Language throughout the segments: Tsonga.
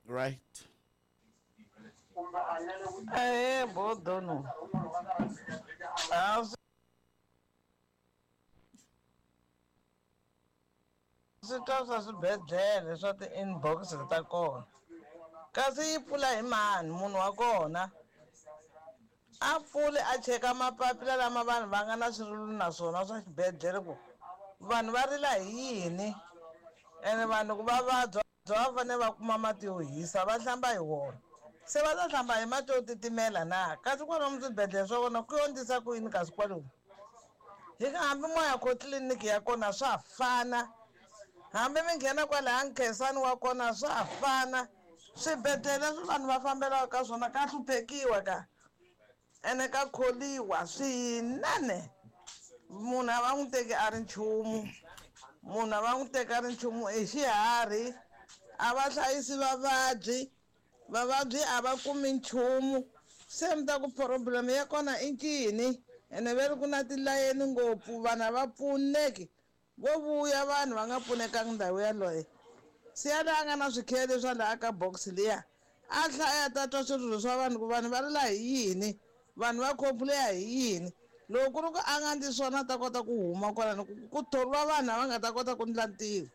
Right. Ahee Bodono. A swi twa swa swibedhlele swa ti-inbox ta kona kasi yi pfula hi mani munhu wa kona a pfuli a cheka mapapila lama vanhu va nga na swirilo na swona swa xibedhlele ku vanhu va rila hi yini ene vanhu ku va vabya va fanele va kuma mati yo hisa va hlamba hi wona se va ta hlamba hi mati yo titimela na kasi kwalomu swibedhlele swa kona ku yo ndlisa ku yini kasi kwalomu hi ka hambi moya ko tliliniki ya kona swa fana hambi mi nghena kwalaya nkhensani wa kona swa fana swibedhlele leswi vanhu va fambelaka ka swona ka hluphekiwa ka ene ka kholiwa swinene munhu a va n'wi teki a ri nchumu munhu a va n'wi teki a ri nchumu i xiharhi a va hlayisi vavabyi vavabyi a va kumi nchumu se mi ta ku problem ya kona i ncini ene ve ri ku na tilayeni ngopfu vanhu a va pfuneki vo vuya vanhu va nga pfunekangi ndhawu yaloye se yaloye a nga na swikhiya leswi a laha ka box liya a hlaya ta twa swirilo swa vanhu ku vanhu va rila hi yini vanhu va complain hi yini loko ku ri ku a nga ndli swona a ta kota ku huma kwalano ku thoriwa vanhu lava nga ta kota ku ndla ntirho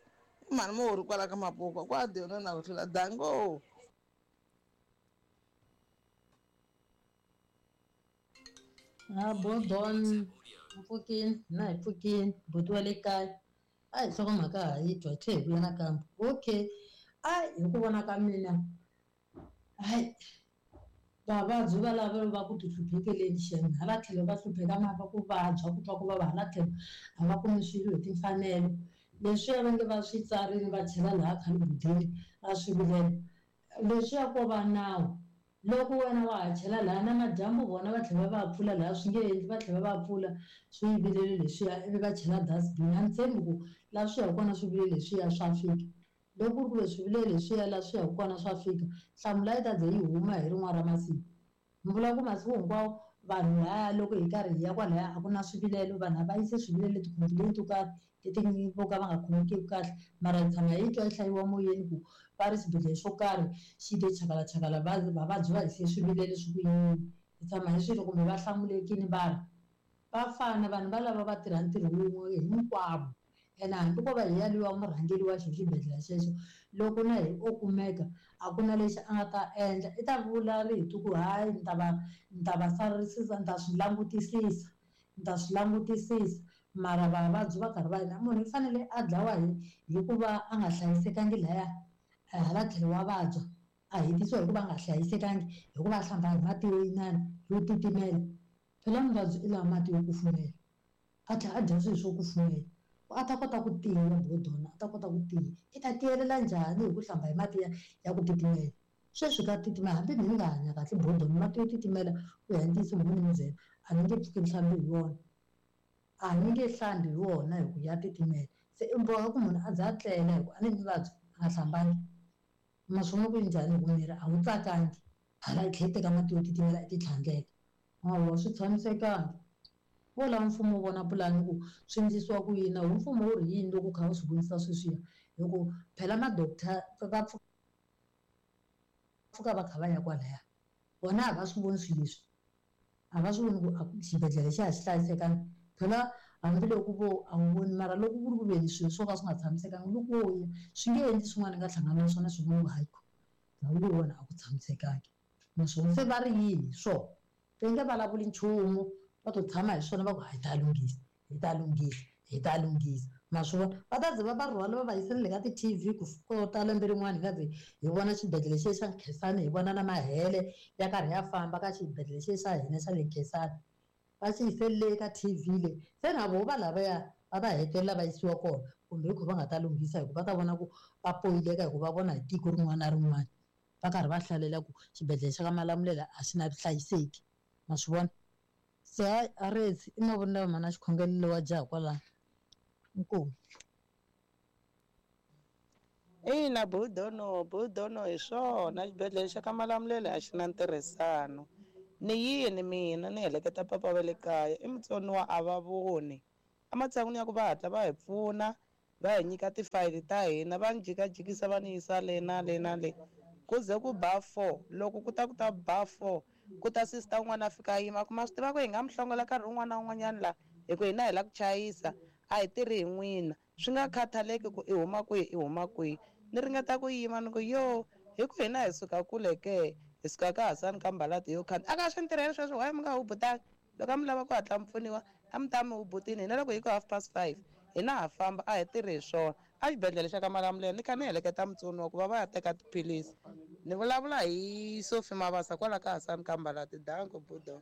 i mhani muhori kwala ka mapuka kwa dyona na ku hlula dango. Ha Bodon mpfukini na hi pfukini buti wa le kaya a hi nhlokomhaka ha yi twa hi tlhe hi vuya nakambe okay a hi ku vona ka mina hayi vavabyi valavo va ku tihluphekeleni xem hala tlhelo va hlupheka mhaka ku vabya ku twa ku vava hala tlhelo a va kumi swilo hi timfanelo leswiya va nge va swi tsarini va chela laha khalibudini a swivilelo leswiya ko va nawu loko wena wa ha chela laha na madyambu vona va tlhela va va pfula laha swi nge endli va tlhela va va pfula swivilelo leswiya ivi va chela dustbin a ni tshembi ku laha swi yaka kona swivilelo leswiya swa fika loko ku ri ku ve swivilelo leswiya laha swi yaka kona swa fika nhlamulo a yi ta ze yi huma hi rin'wana ra masiku ni vula ku masiku hinkwawo vanhu laya loko hi karhi hi ya kwalaya a ku na swivilelo vanhu a va yisi swivilelo ti-complaint to karhi leti vo ka va nga khomekiki kahle mara hi tshama hi twa yi hlayiwa moyeni ku va ri xibedhlele xo karhi xi te chakalachakala vavabyi va hise swivilelo swi ku yini hi tshama hi swilo kumbe va hlamulekini va ri va fana vanhu valava va tirha ntirho wun'we hinkwavo ene hambi ko va hi yaliwa murhangeri wa xo xibedhlele xexo loko na hi o kumeka a ku na lexi a nga ta endla i ta vula rito ku hayi ni ta va ni ta va sarisisa ni ta swi langutisisa ni ta swi langutisisa mara vavabyi va karhi va yina munhu i fanele a dlawa hi hikuva a nga hlayisekangi laya hala tlhelo wa vabya a hetisiwa hikuva a nga hlayisekangi hikuva a hlamba hi mati yo inana yo titimela phela muvabyi i lava mati yo kufumela a tlhela a dya swilo swo kufumela ku a ta kota ku tiya bodona a ta kota ku tiya i ta tiyelela njhani hi ku hlamba hi mati ya ya ku titimela sweswi ka titimela hambi ni nga hanya kahle bodona mati yo titimela ku ya ntiyiso mo ni mi byela a ni nge pfuki ni hlambi hi wona a ni nge hlambi hi wona hi ku ya titimela se i boha ku munhu a za a tlela hi ku a ni ni vabya a nga hlambangi ma swi vona ku njhani hi ku miri a wu tsakangi hala i tlhela i teka mati yo titimela i ti tlhandleka hawa swi tshamisekangi vo lava mfumo wu vona pulani ku swi endlisiwa ku yini na wo mfumo wu ri yini loko u kha u swi vonisa sweswiya hi ku phela ma-doctor va pfuka va kha va ya kwalaya vona a va swi voni swilo leswi a va swi voni ku a xibedhlele xa ha xi hlayisekanga phela hambiloko vo a wu voni mara loko ku ri ku veni swilo swo ka swi nga tshamisekanga loko wo ya swi nge endli swin'wana i nga hlangana na swona swi vona ku hayi ndhawu leyiwani a ku tshamisekangi naswona se va ri yini hi swona va nge vulavuli nchumu va to tshama hi swona va ku hi ta lunghisa hi ta lunghisa hi ta lunghisa ma swi vona va ta ze va va rhwala va va yisa na le ka ti-T_V ku kota lembe rin'wana hi nga ze hi vona xibedhlele xe xa Nkhensani hi vona na mahele ya karhi ya famba ka xibedhlele xe xa hina xa le Nkhensani va xi yise le ka T_V le se na voho va lavaya va ta hetelela va yisiwa kona kumbe hi ku va nga ta lunghisa hi ku va ta vona ku va poyileka hi ku va vona hi tiko rin'wana na rin'wana va karhi va hlalela ku xibedhlele xa ka Malamulele a xi na vuhlayiseki ma swi vona se hayi a rezi i mavonelo mana xikhongelo wa jaha kwalano inkomu. Ina budono budono hi swona xibedhlele xa ka Malamulele a xi na ntirhisano ni yini mina ni heleketa papa va le kaya i mutsoniwa a va voni ematshan'wini ya ku va hatla va hi pfuna va hi nyika tifayili ta hina va ni jikajikisa va ni yisa le na le na le. Ku ze ku ba 4, loko ku ta ku ta ba 4, ku ta sister un'wana a fika a yima a ku, Ma swi tiva ku hi nga mi hlongola nkarhi wun'wana na wun'wanyana la, hi ku hina hi la ku chayisa, a hi tirhi hi n'wina. Swi nga khathaleki ku i huma kwihi i huma kwihi. Ni ringeta ku yima ni ku, Yo, hi ku hina hi suka kule ke, hi suka ka Hasani ka Mbalati yo khandziya. A ka swi ni tirheli sweswo, why mi nga hubutanga? Loko a mi lava ku hatla mi pfuniwa, a mi ta mi hubutini. Hina loko hi ku half past five, hina ha famba, a hi tirhi hi swona. Exibedhlele xa ka Malamulele ni kha ni heleketa mutsoniwa ku va va ya teka tiphilisi. Ni vulavula hi Sophie Mabasa kwala ka Hasani ka Mbalati. Danko budo.